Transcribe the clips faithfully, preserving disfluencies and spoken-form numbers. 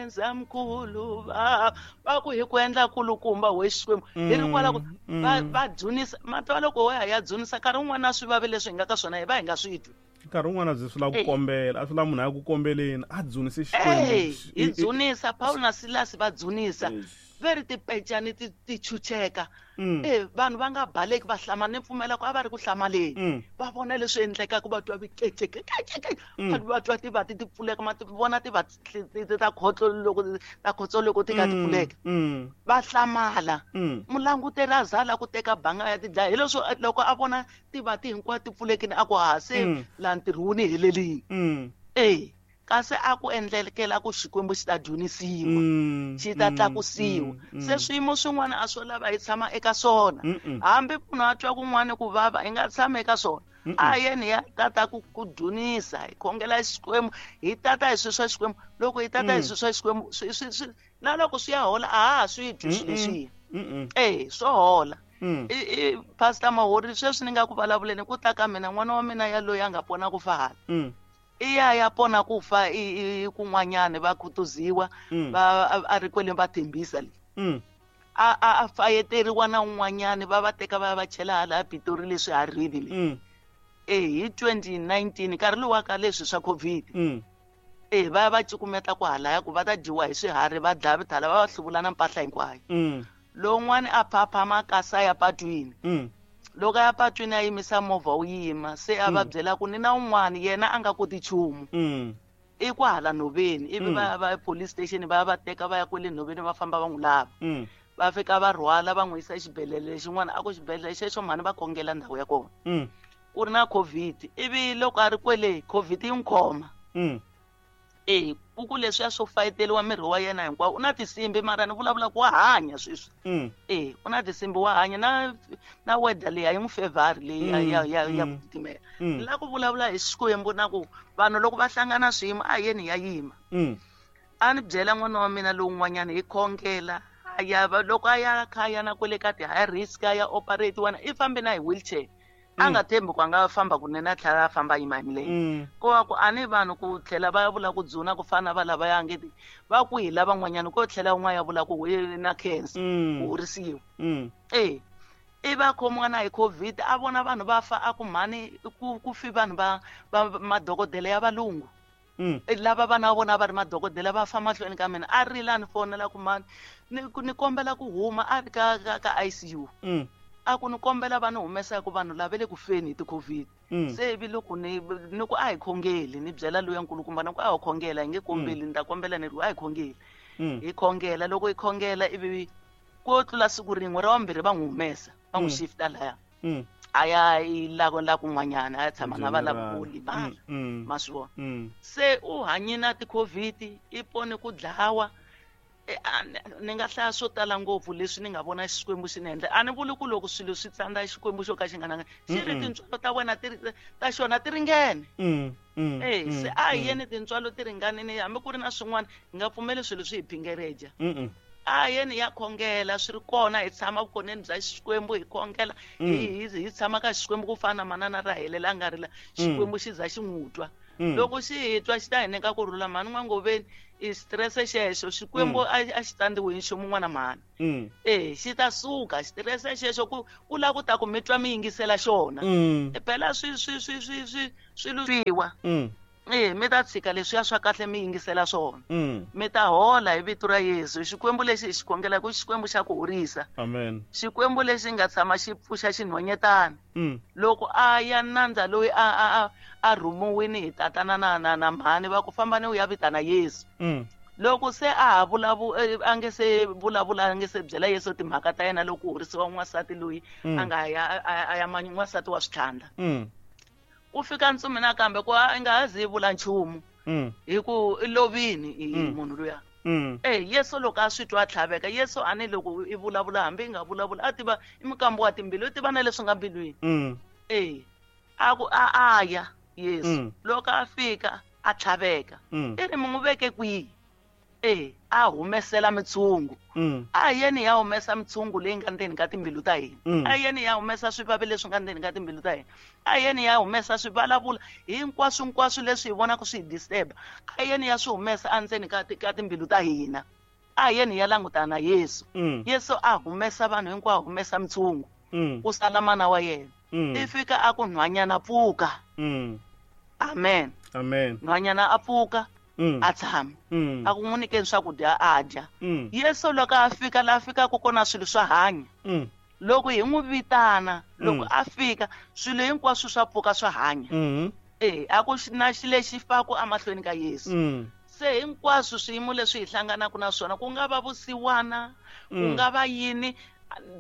Khensa mkhulu va va ku hi ku endla kulukumba we Xikwembu hi ri kwala ku va va dzunisa matwa loko wa ya dzunisa nkarhi wun'wana a swi vavi leswi hi nga ka swona hi va hi nga swi twi. Nkarhi wun'wana byi swi lava ku kombela a swi lava munhu a ya ku kombeleni a dzunise Xikwembu. Hi dzunisa Paul na Silas va dzunisa ve ri tipecani ti ti chucheka e vanhu va nga baleki va hlamala ni pfumela ku a va ri ku hlamaleni va vona leswi endlekaka va twa vikeceke va twa tivati ti pfuleka ma vona tivati ta khotso loko ta khotso loko ti ka ti pfuleka va hlamala mulanguteri a zala ku teka banga ya tidlaya hi leswo loko a vona tivati hinkwato ti pfulekini a ku ha se laha ntirho wu ni helelini e kasi a ku endlekela ku Xikwembu xi ta dzunisiwa xi ta tlakusiwa se swiyimo swin'wana a swo lava hi tshama eka swona hambi munhu a twa kun'wana ku vava hi nga tshama eka swona a yeni ya tata ku ku dzunisa hi khongela Xikwembu hi tata hi swilo swa Xikwembu loko hi tata hi swilo swa Xikwembu swi swi na loko swi ya hola a ha swi twi swilo leswiya e swo hola i Pastor Mahori sweswi ni nga ku vulavuleni ku ta ka mina n'wana wa mina ya loyi a nga pona ku fa hala i ya ya pona ku fa i kun'wanyana va khutuziwa va a ri kwele va thembisa le a a a fayeteriwa na un'wanyana va va teka va va chela hala Pitori leswi harini le e hi twenty nineteen nkarhi lowu ka leswi swa COVID e va va cukumeta ku halaya ku va ta dyiwa hi swiharhi va dlaya vithala va va hluvula na mpahla hinkwayo lowun'wana a phaphama kasa ya patwini loko ya patwini a yimisa movha wu yima se a va byela ku ni na un'wana yena a nga koti nchumu i kwahala nhoveni ivi va va police station va ya va teka va ya kwele nhoveni va famba va n'wi lava va fika va rhwala va n'wi yisa exibedhlele xin'wana a ku xibedhlele xexo mhani va khongela ndhawu ya kona ku ri na COVID ivi loko a ri kwele COVID yi n'wi khoma e ku ku leswiya swo fayeteriwa miri wa yena hinkwawo u na tinsimbi mara ni vulavula ku wa hanya sweswi e u na tinsimbi wa hanya na na weather leyi a yi n'wi favor leyi ya ya ya ya ku titimela ni lava ku vulavula hi Xikwembu na ku vanhu loko va hlangana swiyimo a yeni ya yima a ni byela n'wana wa mina lowun'wanyana hi khongela a ya loko a ya kha ya na kwele ka ti-high risk a ya operate wana i fambe na hi wheelchair a nga thembi ku a nga famba kunene a tlhela a famba a yima hi milenge ko va ku a ni vanhu ku tlhela va ya vula ku dzuna ku fana na va lava ya ngeti va kwihi lavan'wanyana ko tlhela un'wana ya vula ku na cancer ku horisiwa e i va khomiwa na hi COVID a vona vanhu va fa a ku mhani ku ku fi vanhu va va madokodela ya valungu lava vana va vona va ri madokodela va fa mahlweni ka mina a rila ni fonela ku mhani ni ni kombela ku huma a ri ka ka ka I C U a ku ni kombela va ni humesa ku vanhu lava le ku feni hi ti-COVID se ivi loko ni ni ku a hi khongeli ni byela loyi nkulukumba ni ku a hi khongela hi nge kombeli ni ta kombela ni ri a hi khongeli hi khongela loko hi khongela ivi ko tlula siku rin'we ra vambirhi va n'wi humesa va n'wi shifta laya a ya i la la kun'wanyana a ya tshama na va lava ku limala ma swi vona se u hanye na ti-COVID i pone ku dlawa ni nga hlaya swo tala ngopfu leswi ni nga vona Xikwembu xi ni endla a ni vuli ku loko swilo swi tsandza Xikwembu xo ka xi nga nanga xi ri tintswalo ta wena ti ta xona ti ringene e se a hi yeni tintswalo ti ringanini hambi ku ri na swin'wana hi nga pfumeli swilo swi hi phingereja a yeni ya khongela swi ri kona hi tshama vukoneni bya Xikwembu hi khongela hi hi tshama ka Xikwembu ku fana na manana Rahele la nga rila Xikwembu xi za xi n'wi twa loko xi hi twa xi ta hi nyika ku rhula mhani n'wangoveni i stress xexo Xikwembu a xi tsandziwi hi nchumu n'wana mhani e xi ta suka xitirese xexo ku ku lava ku ta ku mi twa mi yingisela xona phela swi swi swi swi swi swilo swiwa e mi ta tshika leswiya swa kahle mi yingisela swona mi ta hola hi vito ra Yesu Xikwembu lexi hi xi khongelaka i Xikwembu xa ku horisa amen Xikwembu lexi nga tshama xi pfuxa xinhwanyetana loko a ya nandza loyi a a a rhumiwini hi tatana na na na mhani va ku famba ni u ya vitana Yesu loko se a ha vulavu a nge se vulavula a nge se byela Yesu timhaka ta yena loko ku horisiwa n'wansati loyi a nga ya a ya n'wansati wa switlhandla ku fika ntsumi nakambe ku a nga ha zi vula nchumu hi ku i lovini i munhu luya e Yesu loko a swi twa a tlhaveka Yesu a ni loko i vulavula hambi i nga vulavula a tiva i mukambi wa timbilu i tiva na leswi nga mbilwini e a ku a a ya Yesu loko a fika a tlhaveka i ri mi n'wi veke kwihi E a humesela mitshungu. Mm. A yeni ya humesa mitshungu leyi nga ndzeni ka timbilu ta hina. Mm. A yeni ya humesa swivavi leswi nga ndzeni ka timbilu ta hina. A yeni ya humesa swivulavula hinkwaswo hinkwaswo leswi hi vonaka swi hi disturb. A yeni ya swi humesa endzeni ka ka timbilu ta hina. A yeni ya langutana na Yesu. Mm. Yesu a humesa vanhu hinkwavo, humesa mitshungu. Mm. Ku sala mana wa yena. Mm. I fika a ku nhwanyana pfuka. Mm. Amen. Amen. Nhwanyana a pfuka. Mm. A tshama. Mm. A ku n'wi nyikeni swakudya a dya. Mm. Yesu loko a fika la fikaka kona swilo swa hanya. Mm. Loko hi n'wi vitana, loko Mm. a fika swilo hinkwaswo swa pfuka swa hanya. Mm. Eh, a ku na xilo lexi faku emahlweni ka Yesu. Mm. Se hinkwaswo swiyimo leswi hi hlanganaka na swona, ku nga va vusiwana, ku Mm. nga va yini,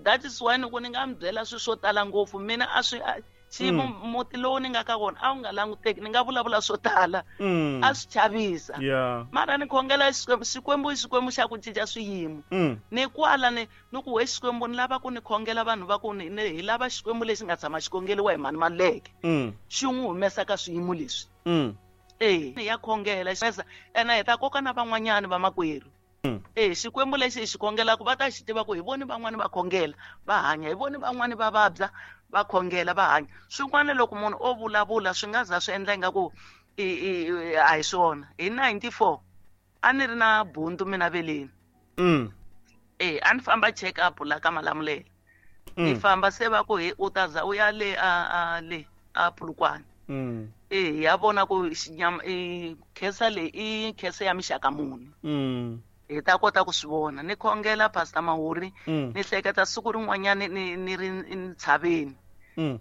that is why ni ku ni nga mi byela swilo swo tala ngopfu. Mina a swi, a, xiyimo Mm. muti lowu ni nga ka wona a wu nga languteki, ni nga vulavula swo tala. Mm. A swi chavisa. Yeah. Mara ni khongela Xikwembu, Xikwembu i Xikwembu xa ku cinca swiyimo. Mm. Ni kwala ni, ni ku we Xikwembu ni lava ku ni khongela vanhu va ku ni, ni hi lava Xikwembu lexi nga tshama xi khongeriwa hi mani Maluleke. Mm. Xi n'wi humesa ka swiyimo leswi. Mm. Eh, ni ya khongela, xi ena hi ta koka na van'wanyani vamakwerhu. Mm. Eh, Xikwembu lexi hi xi khongelaka va ta xi tiva ku hi voni van'wani va khongela va hanya, hi voni van'wani va vabya va khongela va hanya. Swin'wana loko munhu o vulavula swi nga za swi endla ingaku i, i, a hi swona. Hi ninety-four a ni ri na bundu mina veleni. Mm. Eh, a ni famba check up la ka Malamulele. Mm. Ni famba se va ku he u ta za u ya le a, a le a Polokwane. Mm. Eh, ya vona ku xinyama, i khensa leyi i khensa ya mixaka muni. Mm. Hi ta kota ku swi vona. Ni khongela Pastor Mahuri, Mm. ni hleketa siku rin'wanyani ni, ni ri ntshaveni. Mm.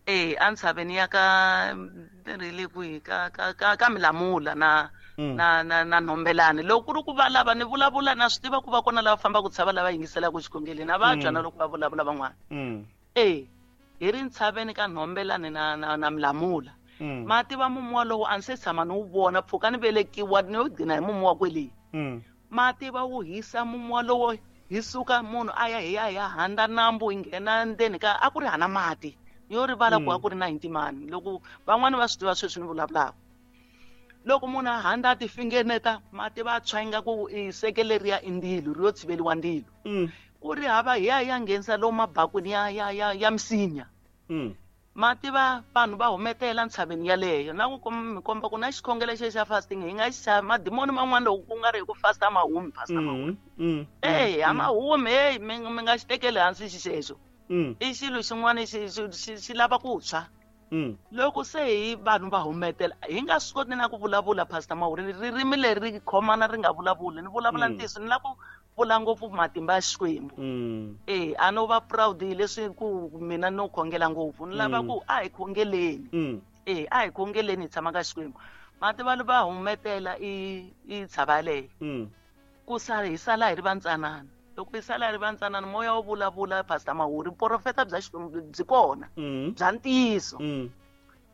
Eh, a ntshaveni ya ka, ni ri le kwihi, ka, ka, ka, ka Milamula na, Mm. na, na, na Nhombelani. Loko ku ri ku va lava ni vulavula, na swi tiva ku va kona lava fambaka tshava lava yingiselaka xikhongeleni, a va Mm. twa na loko va vulavula van'wana. Mm. Eh, hi ri ntshaveni ka Nhombelani na, na, na Milamula. Mm. Mati va mumu walowo a ni se tshama ni wu vona, mpfhuka ni velekiwa ni yo gcina hi mumu wa kwele. Mm. Mati va wu hisa mumu walowo, hi suka munhu a ya hi ya hi ya handa nambu hi nghena ndzeni ka, a ku ri hana mati. Yo rivala ku Mm. a ku ri ninety mani. Loko van'wani va swi tiva sweswi ni vulavulaka. Loko munhu a handa a ti fingeneta, mati va tshwa ingaku i seke leriya i ndzilo, ri yo tshiveriwa ndzilo. Mm. Ku ri hava hi ya hi ya nghenisa lomu mabakwini ya, ya, ya, ya misinya. Mm. Mati va vanhu va humetela ntshaveni yaleyo. Na ku kom-, mi komba ku na xikhongelo xexi xa fasting hi nga xi xava madimoni man'wana loko ku nga ri hi ku fasta ma humi, pastor Mm, Mahuri. mm, Eh, a mm. ma humi, hey, mi, mi nga xi tekeli hansi xexo. Mm. I xilo xin'wana xi, xi, xi, xi lava ku tshwa. Mm. Loko se hi vanhu va humetela, hi nga swi koti na ku vulavula, Pastor Mahuri, ririmi leri ri khomana ri nga vulavuli. Ni vulavula Mm. ntiyiso, ni lava ku vula ngopfu matimba ya Xikwembu. Mm. Eh, a no va proud hi leswi ku mina no khongela ngopfu. Ni lava Mm. ku a hi khongeleni. Mm. Eh, a hi khongeleni hi tshama ka Xikwembu. Mati va va humetela i, i tshava yaleyo. Mm. Ku sala hi sala hi ri vantsanana. Loko hi sala hi ri vantsanana, moya wo vulavula, Pastor Mahuri, vuprofeta bya Xikwembu byi kona. Mm. Bya ntiyiso. Mm.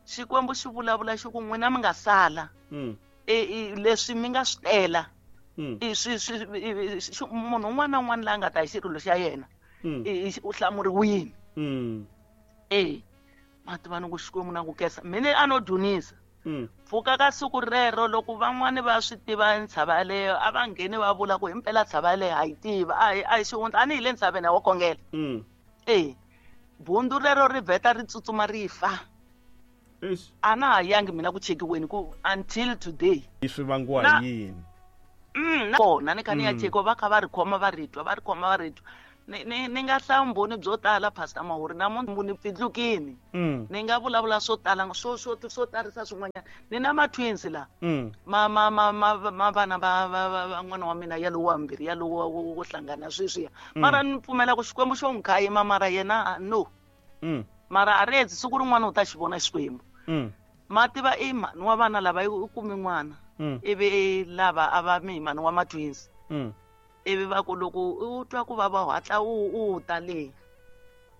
Xikwembu xi vulavula xi ku n'wina mi nga sala. Mm. E, e, leswi mi nga swi tela. Mm. I swi, swi, i, i, xi, munhu un'wana na un'wana la nga ta hi xirilo xa yena, Mm. i, i, u hlamuriwile. Mm. E, mati va ni ku Xikwembu na ku khensa. Mina a no dzunisa. Mm. Pfuka ka siku rero loko van'wani va swi tiva ntshava yaleyo, a va ngheni va vula ku himpela ntshava yaleyo ha yi tiva, a hi, a hi xihundla, a ni hi le ntshaveni ya wo khongela. Mm. E, bundzu rero ri vheta ri tsutsuma ri fa. Eish. A na ha yangi mina ku chekiweni ku until today. Swi vangiwa Na hi yini? Mm, na kona ni kha ni ya Mm. chekiwa, va kha va ri khoma va ri twa, va ri khoma va ri twa. Ni, ni, ni nga hlaya vumbhoni byo tala, Pastor Mahuri, namuntlha ni pfindlukini. Mm. Ni nga vulavula swo tala, swo, swo, swo tarisa swin'wanyana. Ni na ma-twins la. Mm. Ma, ma, ma, ma, ma vana va, va, va, va n'wana wa mina ya lowu wa mbirhi, ya lowu wa, wo, wo hlangana sweswiya. Mm. Mara ni pfumela ku Xikwembu xo n'wi khayima, mara yena, no. Mm. Mara a ri hetsi, siku rin'wana u ta xi vona Xikwembu. Mm. Ma tiva i mhani wa vana lava i kumi n'wana. Mm. Ivi lava a va mi mhani wa ma-twins. Mm. Ivi va ku loko u twa ku vava u hatla u, u ta le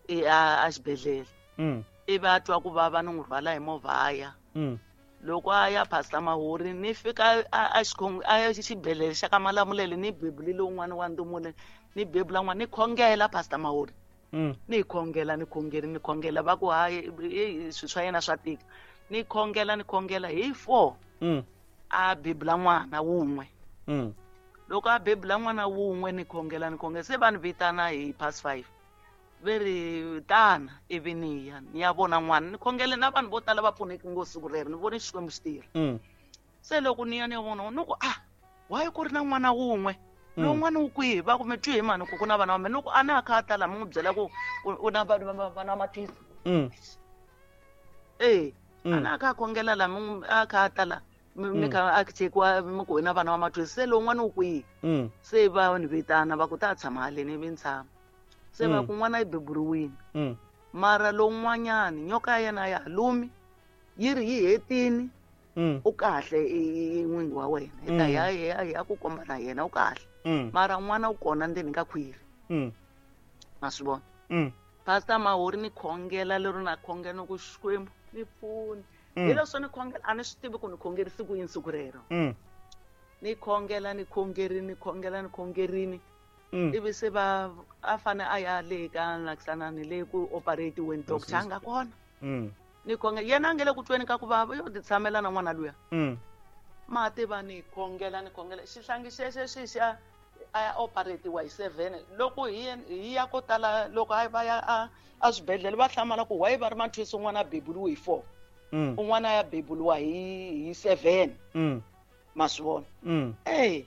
e, a, a xibedhlele. Mm. Ivi a twa ku vava ni n'wi rhwala hi movha a ya. Mm. Loko a ya Pastor Mahuri, ni fika a, a xikhong-, a xibedhlele xa ka Malamulele, ni bebulile un'wana wa ndzumule, ni bebula n'wana, ni khongela Pastor Mahuri. Mm. Ni khongela, ni khongela, ni khongela, va ku hayi, e, e, swilo swa yena swa tika. Ni khongela, ni khongela hi four. Mm. A bebula n'wana wun'we. Mm. Loko a bebula n'wana wun'we ni khongela ni khongela se va ni vitana hi past five. Ve ri tana ivi ni ya ni ya vona n'wana ni khongele na vanhu vo tala va pfuneki ngopfu siku rero ni vone Xikwembu xi tirha. Mm. Se loko ni ya ni ya vona ni ku ah why ku ri na n'wana wun'we lowun'wana wu kwihi va ku mi twi hi mani ku ku na vana va mina ni ku a na kha a ta laha mi n'wi byela ku u na vana vana mathisa. Mm. Eh a na kha a khongela laha mi a kha a ta laha mi kha a chekiwa mi ku na vana va mathisa se lowun'wana wu kwihi. Mm. Se va ni vitana va ku ta tshama haleni ivi ni tshama. Se va ku n'wana yi beburiwile. Mm. Mara lowun'wanyani nyoka ya yena ya ha lumi yi ri yi hetini. Mm. U kahle i n'wingi wa wena hi ta ya ya ya ku komba na yena u kahle. Mm. Mara n'wana u kona ndzeni ka khwiri. Mm. Ma swi vona. Mm. Pastor Mahori ni khongela lero na khongela ni ku Xikwembu ni pfuni. Mm. Hi leswo ni khongela a ni swi tivi ku ni khongerisi ku yini siku rero. Mm. Ni khongela ni khongerini ni khongela ni khongerini. Mm. Ivi se va a fane a ya le ka nakisanani le ku operate-weni doctor a nga kona. Mm. Ni khongela yena a nge le ku tweni ka ku vava yo ti tshamela na n'wana luya. Mm. Ma tiva ni khongela ni khongela xihlangi xexo xi xa a ya operate-iwa hi seven loko hi hi ya ko tala loko a va ya a a swibedhlele va hlamala ku why va ri mathwisi un'wana a beburiwe hi four. Mm. Un'wana ya beburiwa hi hi seven. Mm. Ma swi vona. Mm. Eh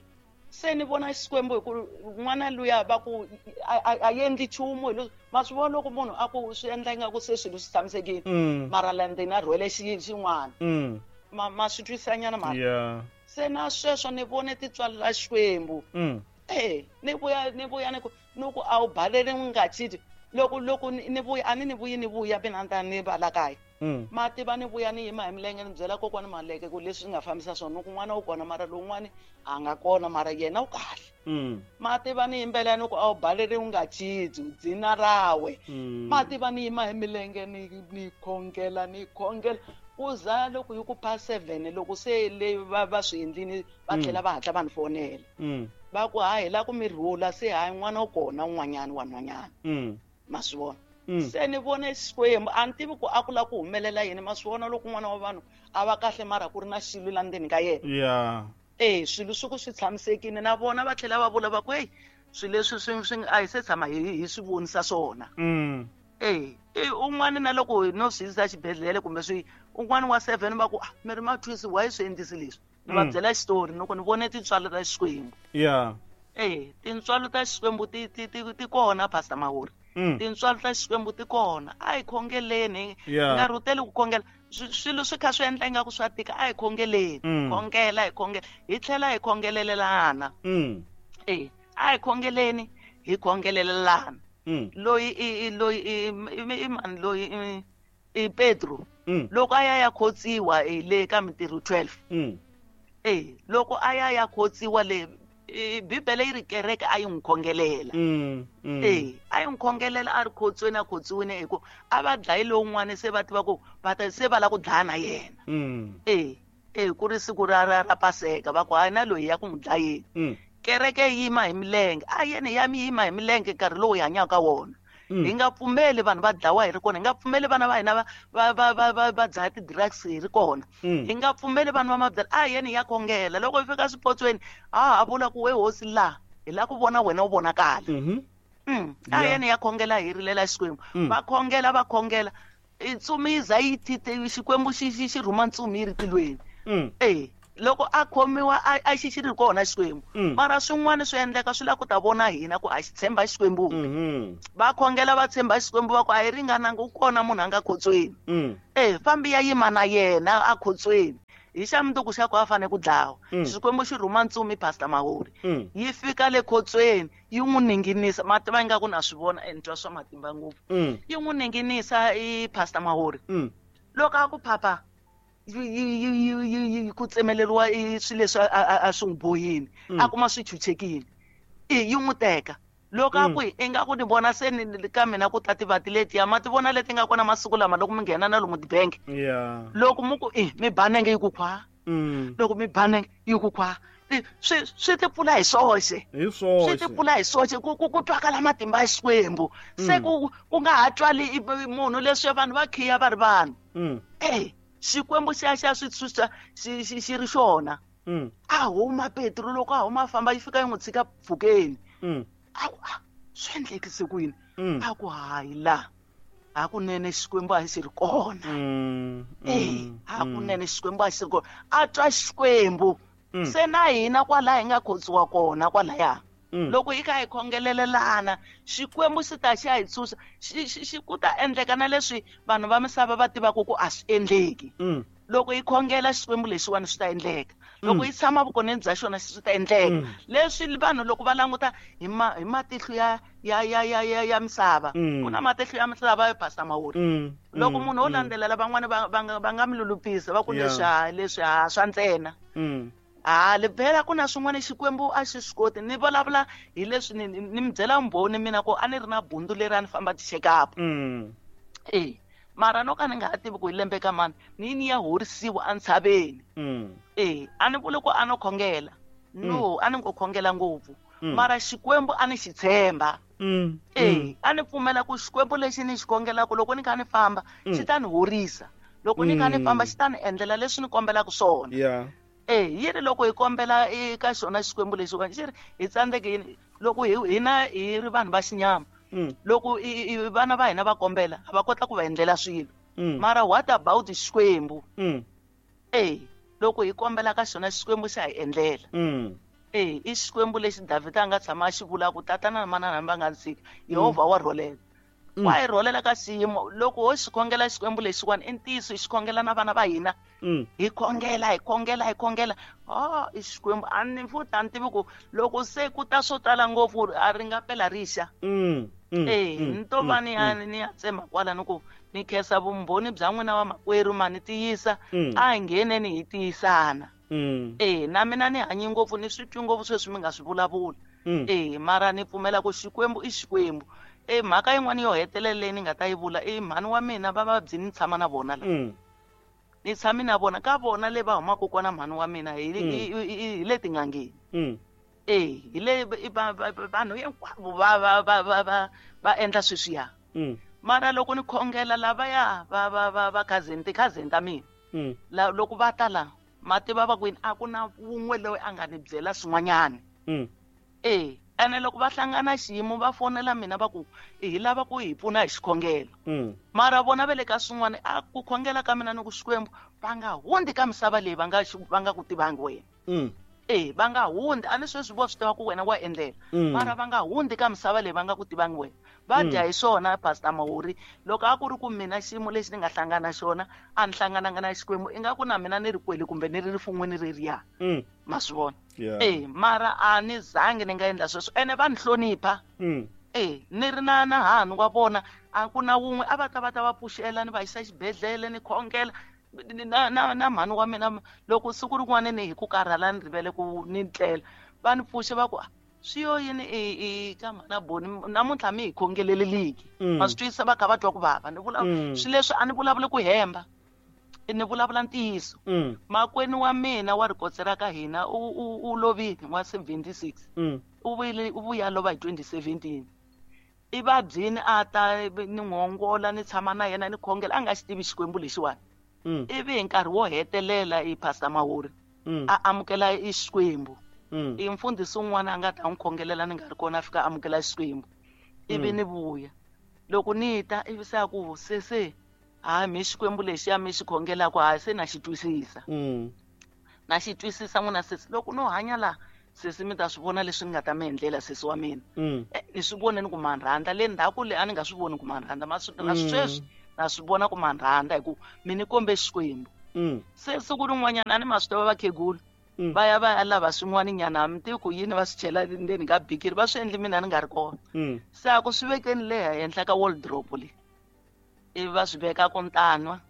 se ni vona Xikwembu hi ku n'wana luya va ku a endli nchumu hi leswi ma swi vona loko munhu a ku swi endla ingaku se swilo swi tshamisekile. Mm. Mara la ndzeni a rhwele xin'wana. Mm. Ma ma swi twisanyana mara. Yeah. Se na sweswo ni vone tintswalo ta Xikwembu. Mm. Eh ni vuya ni vuya ni ku ni ku a wu balele n'wi nga chiti loko loko ni vuya a ni ni vuyi ni vuya mina ni ta ni va la kaya. Mm. Ma tiva ni vuya ni yima hi milenge ni byela kokwani Maleke ku leswi nga fambisa swona ni ku n'wana wu kona mara lowun'wani a nga kona mara yena u kahle. Mm. Ma tiva ni yimbelela ni ku a wu balele u nga chiti dzina rawe. Mm. Ma tiva ni yima hi milenge ni ni khongela ni khongela ku za loko yi ku past seven loko se le va va swi endlini va tlhela va hatla va ni fonela. Mm. Va ku hayi hi la ku mi rhula se hayi n'wana u kona un'wanyana wa nhwanyana. Mm. Ma swi vona. Mm. Se ni vone Xikwembu a ni tivi ku a ku lava ku humelela yini ma swi vona loko n'wana wa vanhu a va kahle mara ku ri na xilo la ndzeni ka yena. Yeah. Eh swilo swi ku swi tshamisekile na vona va tlhela va vula va ku hey swilo leswi swi swi a hi se tshama hi hi swi vonisa swona. Mm. Eh eh un'wana na loko no swi yisa xibedhlele kumbe swi un'wana wa seven va ku ah mi ri mathwisi why swi endlisi leswi. Ni va byela xitori loko ni vone tintswalo ta Xikwembu. Yeah. Eh tintswalo ta Xikwembu ti ti ti kona Pastor Mahori. Mm. Tintswalo ta Xikwembu ti kona a hi khongeleni Yeah. nga rhuteli ku khongela swilo swi kha swi endla ingaku swa tika a hi khongeleni. Mm. Khongela hi khongela hi tlhela hi khongelelelana. Mm. Eh a hi khongeleni hi khongelelelana. Mm. Loyi i loyi i mani loyi i Petro. Mm. Loko a ya ya khotsiwa hi le ka Mintirho twelve. Mm. Eh loko a ya ya khotsiwa le Bibele yi ri kereke a yi n'wi khongelela. Mm, mm. Eh a yi n'wi khongelela a ri khotsweni a khotsiwini hi ku a va dlayi lowun'wana se va tiva ku va ta se va lava ku dlaya na yena. Mm. Eh eh ku ri siku ra ra ra Paseka va ku hayi na loyi ya ku n'wi dlayeni. Mm. Kereke yi yima hi milenge a yena ya mi yima hi milenge nkarhi lowu hi hanyaka wona. Mm. Hi nga pfumeli vanhu va dlawa hi ri kona hi nga pfumeli vana va hina va va va va va va dlaya ti-drugs hi ri kona. Mm. Hi nga pfumeli vanhu va mabyalwa a yena ya khongela loko hi fika swipotsweni a ha vula ku we hosi la hi la ku vona wena u vonakala. Mhm. Mm. A Yeah. yena ya khongela hi rilela Xikwembu. Mm. Va khongela va khongela ntsumi yi za yi tite Xikwembu xi xi xi rhuma ntsumi yi ri tilweni. Mm. Eh loko a khomiwa a a xi xi ri kona Xikwembu. Mm. Mara swin'wana swi endleka swi lava ku ta vona hina ku a xi tshemba Xikwembu. Mhm. Va khongela va tshemba Xikwembu va ku a hi ringananga u kona munhu a nga khotsweni. Mm. Eh fambi ya yima na yena a khotsweni. Hi xa mundzuku xa ku a fanele ku dlawa. Mm. Xikwembu xi rhuma ntsumi Pastor Mahori. Mm. Yi fika le khotsweni yi n'wi ninginisa ma tiva ingaku na swi vona e ni twa swa matimba ngopfu. Mm. Yi n'wi ninginisa i Pastor Mahori. Mm. Loko a ku phapha yi yi yi ku tsemeleriwa i swilo leswi a a swi n'wi bohini Mm. a kuma swi chuchekile i yi n'wi teka loko a Mm. ku ingaku ni vona se ni ka mina ku ta tivati letiya ma ti vona leti nga kona masiku lama loko mi nghena na lomu tibangi. Yeah. Loko mi ku i mi banenge yi ku khwa. Mm. Loko mi banenge yi ku khwa swi swi ti pfula hi swoxe. Hi swoxe. Swi ti pfula hi swoxe ku ku ku twakala matimba ya Xikwembu. Se Mm. ku ku nga ha twali munhu leswi vanhu va khiya va ri vanhu. Mm. Eh Xikwembu xi ya xa swi tshunxa xi xi xi ri xona. Mm. A huma Petro loko a huma famba yi fika yi n'wi tshika pfukeni. Mm. A ku a swi endlekise ku yini? Mm. A ku hayi la. Hakunene Xikwembu a xi ri kona. Mm. Eh, hakunene Xikwembu a xi ri kona. A twa Xikwembu. Mm. Se na hina kwala hi nga khotsiwa kona kwalaya. Mm. Loko hi kha hi khongelelana, Xikwembu xi ta xi ya hi tshunxa, xi xi xi ku ta endleka na leswi vanhu va misava va tivaka ku a swi endleki. Mm. Loko hi khongela Xikwembu lexiwani swi ta endleka. Loko Mm. hi tshama vukoneni bya xona swi ta endleka. Mm. Leswi vanhu loko va languta hi ma hi matihlo ya ya ya ya ya ya misava. Mm. Ku na matihlo ya misava yo Pastor Mahori. Mm. Loko Mm. munhu o Mm. landzelela van'wani va va nga va nga mi lulupisa va ku Yeah. leswi ha leswi ha swa ntsena. Mm. Ha le phela ku na swin'wana Xikwembu a xi swi koti. Ni vulavula hi leswi ni, ni, ni mi byela mbhoni mina ku a ni ri na bundzu leri a ni famba ti-check up. Mm. Eh, mara no ka ni nga ha tivi ku hi lembe ka mani, ni ni ya horisiwa entshaveni. Mm. Eh, a ni vuli ku a no khongela. No, a ni ngo khongela ngopfu. Mm. Mara Xikwembu a ni xi tshemba. Mm. Eh, a ni pfumela ku Xikwembu lexi ni xi khongelaka loko ni kha ni famba, Mm. xi ta ni horisa. Loko ni kha ni famba, Mm. xi ta ni endlela leswi ni kombelaka swona. Yeah. Eh, yi ri loko hi kombela eka xona Xikwembu lexiwani, xi ri hi tsandzeke yini? Loko hi hina hi ri vanhu va xinyama, Mm. loko i, i vana va hina va kombela, a va kota ku va endlela swilo. Mm. Mara what about Xikwembu? Mm. Eh, loko hi kombela ka xona Xikwembu xa hi endlela. Mm. Eh, i Xikwembu lexi Davhida a nga tshama a xi vula ku tatana na manana va nga tshika, Yehovha wa rholela. Mm. Wa hi rholela ka xiyimo. Loko ho xi khongela Xikwembu lexiwani, i ntiyiso hi xi khongela na vana va hina. Mm. Hi khongela, hi khongela, hi khongela. Ah, i Xikwembu a ni futhi a ni tivi ku loko se ku ta swo tala ngopfu a ri nga pela rixa. Mm. Mm. Eh, Mm. ni to va Mm. ni ya ni ya tsema kwala ni ku ni khensa vumbhoni bya n'wina wa makwerhu ma ni tiyisa. Mm. A hi ngheneni hi tiyisana. Mm. Eh, na mina ni hanyi ngopfu ni swi twi ngopfu sweswi mi nga swi vulavula. Mm. Eh, mara ni pfumela ku Xikwembu i Xikwembu. Eh, mhaka yin'wana yo hetelela leyi ni nga ta yi vula i mhani wa mina va vabyi ni tshama na vona la. Mm. Ni tshami na vona ka vona le va humaka kona mhani wa mina hi Mm. hi hi hi le tin'angeni. Mm. Eh, hi le va va vanhu hinkwavo va va va va va va endla sweswiya. Mm. Mara loko ni khongela lavaya va va va va cousin ti-cousin ta mina. Mm. La loko va ta la ma tiva va ku yini a ku na wun'we loyi a nga ni byela swin'wanyana. Mm. Eh, ene loko va hlangana xiyimo va fonela mina va ku hi lava ku hi pfuna hi xikhongelo. Mm. Mara vona va le ka swin'wana a ku khongela ka mina ni ku Xikwembu va nga hundzi ka misava leyi va nga va nga ku tivangi wena. Mm. Eh, va nga hundzi a ni sweswi vo swi tiva ku wena wa endlela. Mm. Mara va nga hundzi ka misava leyi va nga ku tivangi wena. Va dya hi swona Pastor Mahori. Loko a ku ri ku mina xiyimo lexi ni nga hlangana na xona a ni hlangananga na Xikwembu ingaku na mina ni ri kwele kumbe ni ri rifun'wini reriya. Mm. Ma swi vona? Yeah. Eh, mara a ni zangi ni nga endla sweswo ene va ni hlonipha. Mm. Eh, ni ri na na hanu wa vona a ku na wun'we a va ta va ta va pfuxela ni va yisa xibedhlele ni khongela na na na mhani wa mina loko siku rin'wana ni hi ku karhala ni rivele ku ni tlela va ni pfuxe va ku swi yo yini i i ka mhana Boni namuntlha mi hi khongeleleliki. Mm. Ma swi twisisa va kha va twa ku vava ni vula Mm. swi leswi a ni vulavuli ku hemba ni vulavula ntiyiso. Mm. Makwenu wa mina wa rikotse ra ka hina u u u lovile wa seventy-six. Mm. U vuyile u vuya lova hi twenty seventeen. I vabyini a ta ni n'wongola ni tshama na yena ni khongela a nga xi tivi Xikwembu lexiwani. Mm. Ivi hi nkarhi wo hetelela i Pastor Mahori Mm. a amukela i Xikwembu. Mm. I mfundhisi un'wana a nga ta n'wi khongelela ni nga ri kona a fika amukela Xikwembu. Ivi Mm. ni vuya. Loko ni ta ivi se a ku se se hayi mi Xikwembu lexiya mi xi khongelaka hayi se na xi twisisa. Mm. Na xi twisisa n'wina sesi loko no hanya la sesi mi ta swi vona leswi ni nga ta mi endlela sesi wa mina. Mm. Eh, ni swi vone ni ku ma rhandza le ndzhaku le a ni nga swi voni ku ma rhandza ma swi na Mm. sweswi na swi vona ku ma rhandza hi ku mi ni kombe Xikwembu. Mm. Se siku rin'wanyana a ni ma swi tiva vakhegula. Mm. Va ya va ya lava swin'wana nyana a mi tivi ku yini va swi chela ndzeni ka bikiri va swi endli mina ni nga ri kona. Mm. Se a ku swi vekeni le henhla ka wardrobe le. Ivi va swi veka ku ntanwa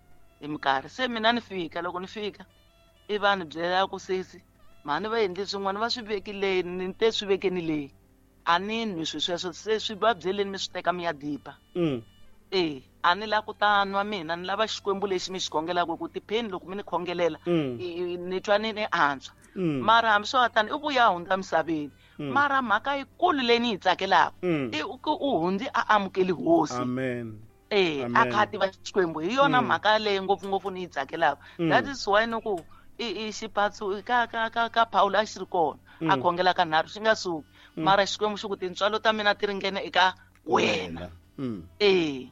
hi minkarhi. Se mina ni fika loko ni fika ivi va ni byela ku sesi mhani va endle swin'wana va swi veki leyi ni te swi vekeni leyi. A ni nwi swi sweswo se swi va byeleni mi swi teka mi ya diba. Mm. Eh, a ni la ku ta nwa mina ni lava Xikwembu lexi mi xi khongelaka ku tipheni loko mi ni khongelela Mm. ni twa ni ni antswa. Mm. Mara hambi swo tani i vuya hundza misaveni. Mm. Mara mhaka yikulu leyi ni yi tsakelaka Mm. i ku u hundzi a amukeli hosi. Amen. Eh, Amen. a kha a tiva Xikwembu hi yona Mm. mhaka leyi ngopfungopfu ni yi tsakelaka. Mm. That is why ni ku i xipatsu ka ka ka ka Paulo a xi ri kona a khongela ka nharhu xi nga suki mara Xikwembu xi ku tintswalo ta mina ti ringene eka wena. Eh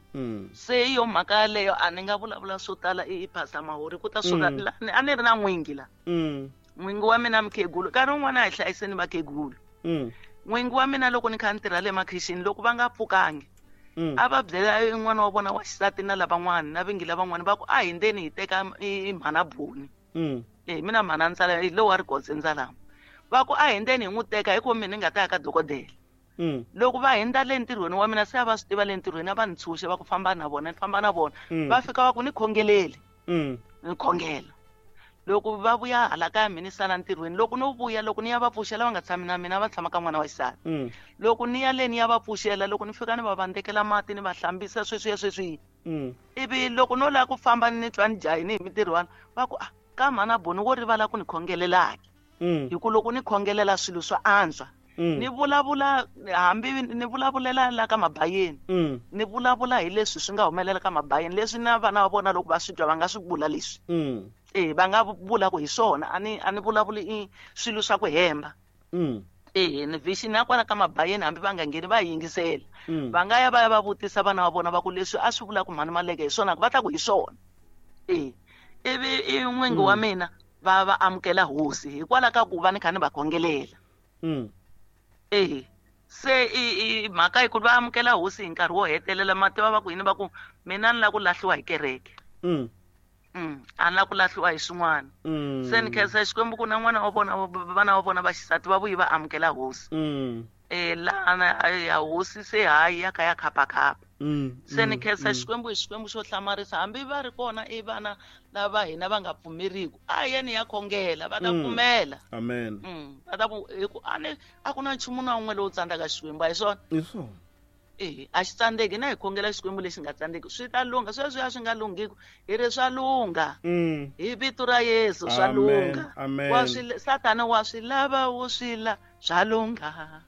se yo mhaka yaleyo a ni nga vulavula swo tala i Pastor Mahori ku ta suka a ni ri na n'wingi la n'wingi wa mina mukhegulu nkarhi wun'wana a hi hlayiseni vakhegulu. N'wingi wa mina loko ni kha ni tirha le makhixini loko va nga pfukangi a va byela yin'wana wa vona wa xisati na lavan'wana na vingi lavan'wana va ku a hi ndzeni hi teka i mhana Boni. Eh mina mhana ndzala hi lowa Rigodze Ndzalama va ku a hi ndzeni hi n'wi teka hikuva mina ni nga ta ya ka dokodela. Loko va hindza le ntirhweni wa mina se a va swi tiva le ntirhweni a va ni tshunxe va ku famba na vona ni famba na vona va fika va ku ni khongeleli ni khongela. Loko va vuya hala kaya mina ni sala ntirhweni loko no vuya loko ni ya va pfuxela va nga tshami na mina va tshama ka n'wana wa xisati. Loko ni ya le ni ya va pfuxela loko ni fika ni va vandekela mati ni va hlambisa sweswiya sweswiya ivi loko no lava ku famba ni twa ni jahini hi mintirhwana va ku ah ka mhana Boni wo rivala ku ni khongelelaki hi ku loko ni khongelela swilo swa antswa. Ni vulavula hambi ni vulavulela la ka mabayeni ni vulavula hi leswi swi nga humelela ka mabayeni leswi na vana va vona loko va swi twa va nga swi vula leswi. Eh va nga vula ku hi swona a ni a ni vulavuli i swilo swa ku hemba. Eh ni vision ya kwala ka mabayeni hambi va nga ngheni va yingisela va nga ya va ya va vutisa vana va vona va ku leswi a swi vula ku mhani Maleke hi swona va ta ku hi swona. Eh ivi i n'wingi wa mina va va amukela hosi hikwalaho ka ku va ni kha ni va khongelela. Eh se i i mhaka yi ku va amukela hosi hi nkarhi wo hetelela mativa va ku yini va ku mina ni lava ku lahliwa hi kereke. Mm a ni lava ku lahliwa hi swin'wana. Se ni khensa Xikwembu ku na n'wana wa vona vana va vona va xisati va vuyi va amukela hosi. Eh laha ya hosi se hayi ya ka ya khapakhapa. Se ni khensa Xikwembu hi Xikwembu xo hlamarisa hambi va ri kona i vana lava hina va nga pfumeriku a yeni ya khongela va ta pfumela. Amen. Va ta ku hi ku a ni a ku na nchumu na wun'we lowu tsandzaka Xikwembu a hi swona. Hi swona. Eh a xi tsandzeki na hi khongela Xikwembu lexi nga tsandzeki swi ta lungha sweswi a swi nga lunghiku hi ri swa lungha. Hi vito ra Yesu swa lungha. Wa swi Satana wa swi lava wo swi la swa lungha.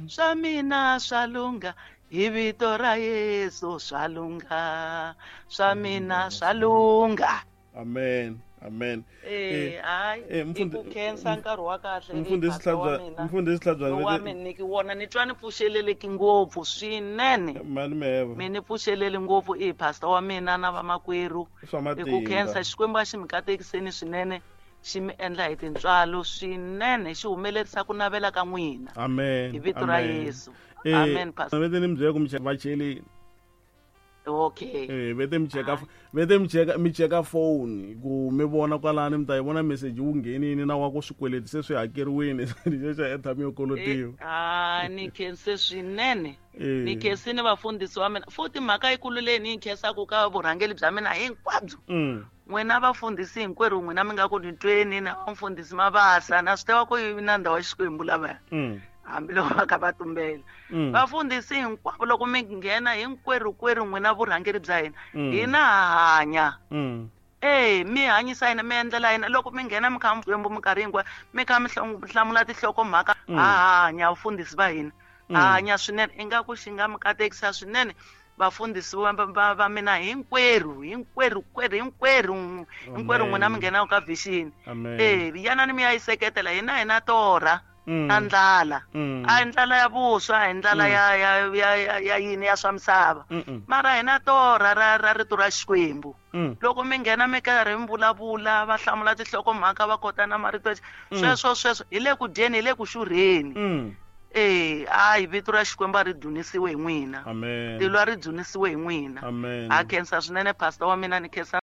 Swa mina swa lungha hi vito ra Yesu swa lungha. Swa mina swa lungha. Amen. Amen. Eh hayi i ku khensa nkarhi wa kahle mfundhisi Tlhabyana mfundhisi Tlhabyana wa mina ni wona ni twa ni pfuxeleleki ngopfu swinene. Mani meva mi ni pfuxeleli ngopfu i pastor wa mina na vamakwerhu i ku khensa Xikwembu a xi mi katekiseni swinene xi mi endla hi tintswalo swinene xi humelerisa ku navela ka n'wina. Amen. Hi vito ra Yesu. Amen pastor. Vete ni mi byela ku mi vacheleni. Okay. Eh vete mi cheka vete mi cheka mi cheka phone ku mi vona kwalani mi ta yi vona message wu nghenini na wa ku swikweleti se swi hakeriwini lexi xa airtime yo kolotiwa. Ah ni khense swinene. Ni khensini vafundhisi wa mina futhi mhaka yikulu leyi ni yi khensaku ka vurhangeri bya mina hinkwabyo. N'wina vafundhisi hinkwerhu n'wina mi nga ku ni tweni na vamfundhisi Mabasa na swi tiva ku i na ndhawu ya Xikwembu lavaya. Hambi loko va kha va tumbela vafundhisi hinkwavo loko mi nghena hinkwerhu kwerhu n'wina vurhangeri bya hina hina ha hanya. Eh mi hanyisa hina mi endlela hina loko mi nghena mi kha mi Xikwembu minkarhi hinkwayo mi kha mi hlamula tinhlokomhaka ha hanya vafundhisi va hina ha hanya swinene ingaku xi nga mi katekisa swinene vafundhisi va va mina hinkwerhu hinkwerhu kwerhu hinkwerhu hinkwerhu n'wina mi nghenaka ka vision. Eh yanani mi ya yi seketela hina hina torha na ndlala a hi ndlala ya vuswa a hi ndlala ya ya ya ya yini ya swa misava mara hina torha ra ra rito ra Xikwembu. Loko mi nghena mi karhi mi vulavula va hlamula tinhlokomhaka va kota na marito sweswo sweswo hi le ku dyeni hi le ku xurheni. Eh hayi vito ra Xikwembu a ri dzunisiwe hi n'wina. Amen. Tilo a ri dzunisiwe hi n'wina. Amen. Ha khensa swinene pastor wa mina ni khensa